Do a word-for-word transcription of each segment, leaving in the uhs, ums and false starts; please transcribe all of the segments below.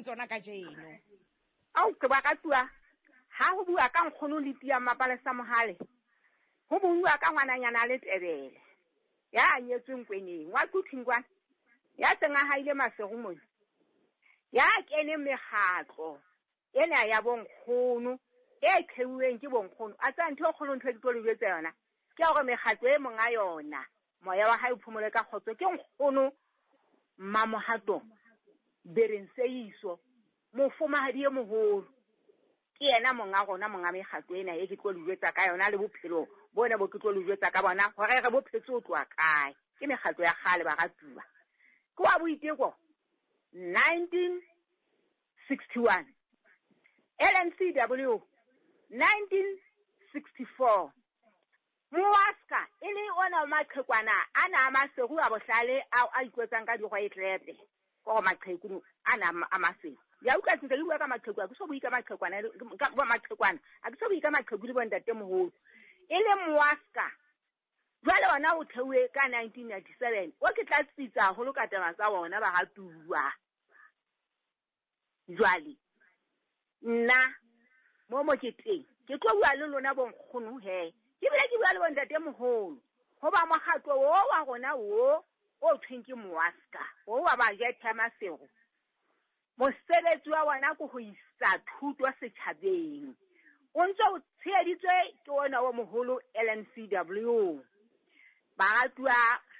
tsona kajeno. Ao ke baratuwa, ha ho bua ka nkgono le tia Mapalesa Mohale, ho bua ka ngwananyana a Letebele ya nyetsweng kweneng wa Quthing kwana, ya seng a haile Maseru mona, ya keneng mekgatlo ena ya bonkgono e theuweng ke bonkgono. A tsaya ntho e kgolo, ntho e ke tlo le jwetsa yona ke ya hore mekgatlo e monga yona, moya wa hae o phomole ka kgotso, ke nkgono Mmamohato Bereng Seiso, mofumahadi e moholo. Ke yena monga rona, monga mekgatlo ena e ke tlo le jwetsa ka yona, le bophelo bona bo ke tlo le jwetsa ka bona hore re bo phetse ho tloha kae. Ke mekgatlo ya kgale, baratuwa. Ke wa Boiteko nineteen sixty one, L N C W nineteen sixty four, Moaska e le ona wa maqhekwana ana a Maseru a bohlale ao a ikwetsang ka digwetlepe, ke gore maqheku ana a Maseru. Ya utlwa sentle, ke bua ka maqheku, ha ke so bue ka maqhekwana, ka maqhekwana, ha ke so bue ka maqheku le bontate moholo. E le Moaska jwale ona o theuwe ka nineteen ninety seven, o ke tla tsitsa haholo ka taba tsa ona, baratuwa. Jwale nna mo mo ke teng, ke tlo bua le lona bonkgono he, ke bile ke bua le bontate moholo, hoba mokgatlo o wa rona o o thweng ke Moaska o wa bajethe ya Maseru, mosebetsi wa bona ke ho isa thuto setjhabeng, o ntse o tsheheditswe ke ona o moholo L N C W. Baratuwa,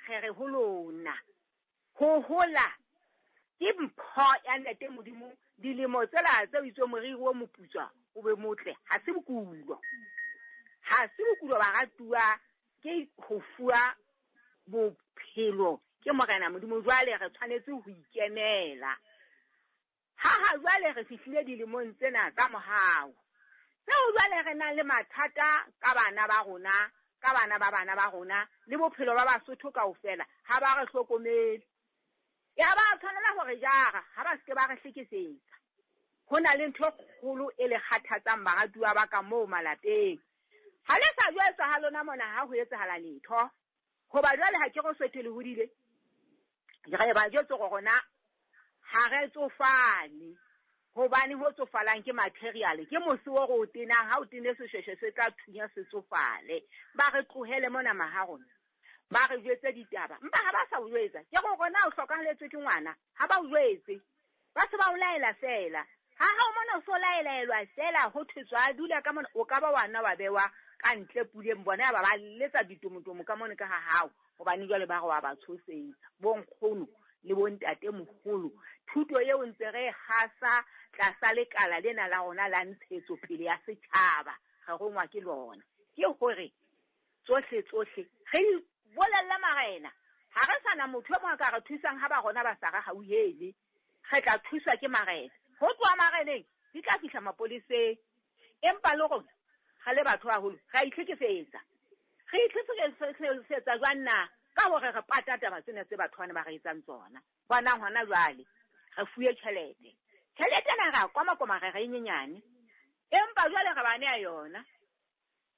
re re ho lona, ho hola ke mpho ya Ntate Modimo. Dilemo tsela tse o itswe moriri o moputswa o be motle, ha se bokulo, ha se bokulo, baratuwa, ke ho fuwa bophelo ke Morena Modimo. Jwale re tshwanetse ho ikemela. Ha ha jwale re fihlile dilemong tsena tsa mohau tseo, jwale re nang le mathata ka bana ba rona, ka bana ba bana ba rona le bophelo ba Basotho kaofela. Ha ba re hlokomele, ya ba tshwanela hore jara ha ba seke ba re hlekefetsa. Ho na le ntho e kgolo e le kgathatsang, baratuwa ba ka moo malapeng. Ha le sa jwetswa ha lona mona, ha ho etsahala letho, hoba jwale ha ke re Sotho le hodile, re ba jwetse hore rona ha re tsofale, hobane ho tsofalang ke material, ke mose o re o tenang. Ha o tene seshweshwe se tla thunya, se tsofale. Ba re tlohele mona maha rona, ba re jwetse ditaba, mpa ha ba sa o jwetsa, ke re rona o hlokahaletswe ke ngwana, ha ba o jwetse, ba se ba o laela feela. Ha ha o mona o so laelaelwa feela, ho thwe tswa dula ka mona, o ka ba wa nna wa bewa ka ntle puleng, bona ya ba ba letsa ditomotomo ka mona ka ha hao, hobane jwale ba re wa ba tshosetsa. Bonkgono le bontate moholo, thuto eo ntse re e hasa tlasa lekala lena la rona la ntshetsopele ya setjhaba, re rongwa ke lona, ke hore tsohle tsohle re di bolella marena. Ha re sana motho e mong a ka re thusang, ha ba rona ba sa re hauhele, re tla thuswa ke marena. Ho tloha mareneng di tla fihla mapoleseng. Empa le rona re le batho haholo re a itlhekefetsa. Re itlhekefetsa jwang na? Ka hore re pata taba tsena tse batho bana ba re etsang tsona. Bonang hona jwale re fuwe tjhelete, tjhelete ena re a komakoma, re re e nyenyane, empa jwale re ba nea yona,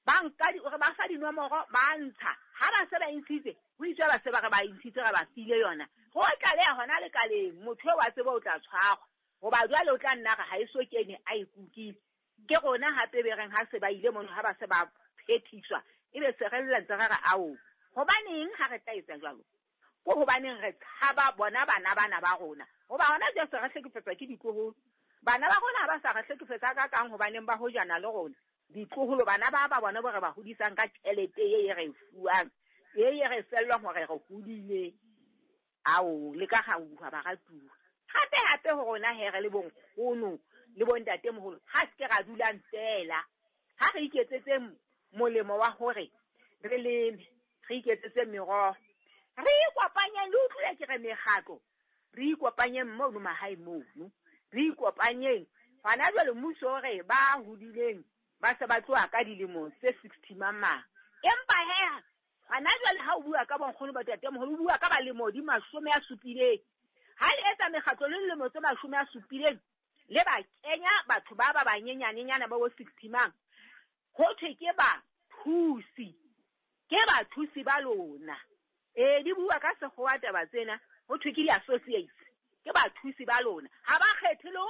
ba nka re ba fa dinomoro, ba ntsha. Ha ba se ba ntshitse, ho itswe ba se ba re ba ntshitse, re ba file yona. Ho tlaleha hona lekaleng, motho eo wa tseba o tla tshwarwa, hoba jwale o tla nna re ha e so kene a e kukile. Ke rona hape be reng ha se ba ile mono, ha ba se ba phethiswa, ebe se re lla ntse re re ao. Hobaneng ha re tla etsa jwalo? Ko hobaneng re tshaba bona bana bana ba rona, hoba hona jwale se re hlekefetswa ke ditloholo. Bana ba rona ha ba sa re hlekefetsa ka kang, hobaneng ba hojana le rona ditloholo, bana ba ba bona bo re ba hodisang ka tjhelete e e re e fuwang, e e re fellwang hore re hodile. Ao le ka gauha, baratuwa. Hape hape ho rona he re le bonkgono le bontate moholo, ha se ke ra dulang feela. Ha re iketsetse molemo wa hore re leme, re iketsetse meroho, re ikopanyeng. Le utlwile ke re mekgatlo, re ikopanyeng mono mahae mono, re ikopanyeng. Hona jwale mmuso o re ba hodileng ba se ba tloha ka dilemo tse sixty mang, empa he hona jwale ha o bua ka bonkgono ba moholo, o bua ka balemo di mashome a supileng. Ha le etsa mekgatlo le dilemo tse mashome a supileng, le ba kenya batho ba ba banyenyanenyana ba bo sixty mang, ho thwe ke ba thusi, ke bathusi ba lona. Ee, di bua ka sekgowa taba tsena, ho thwe ke di-associates, ke bathusi ba lona. Ha ba kgethe le ho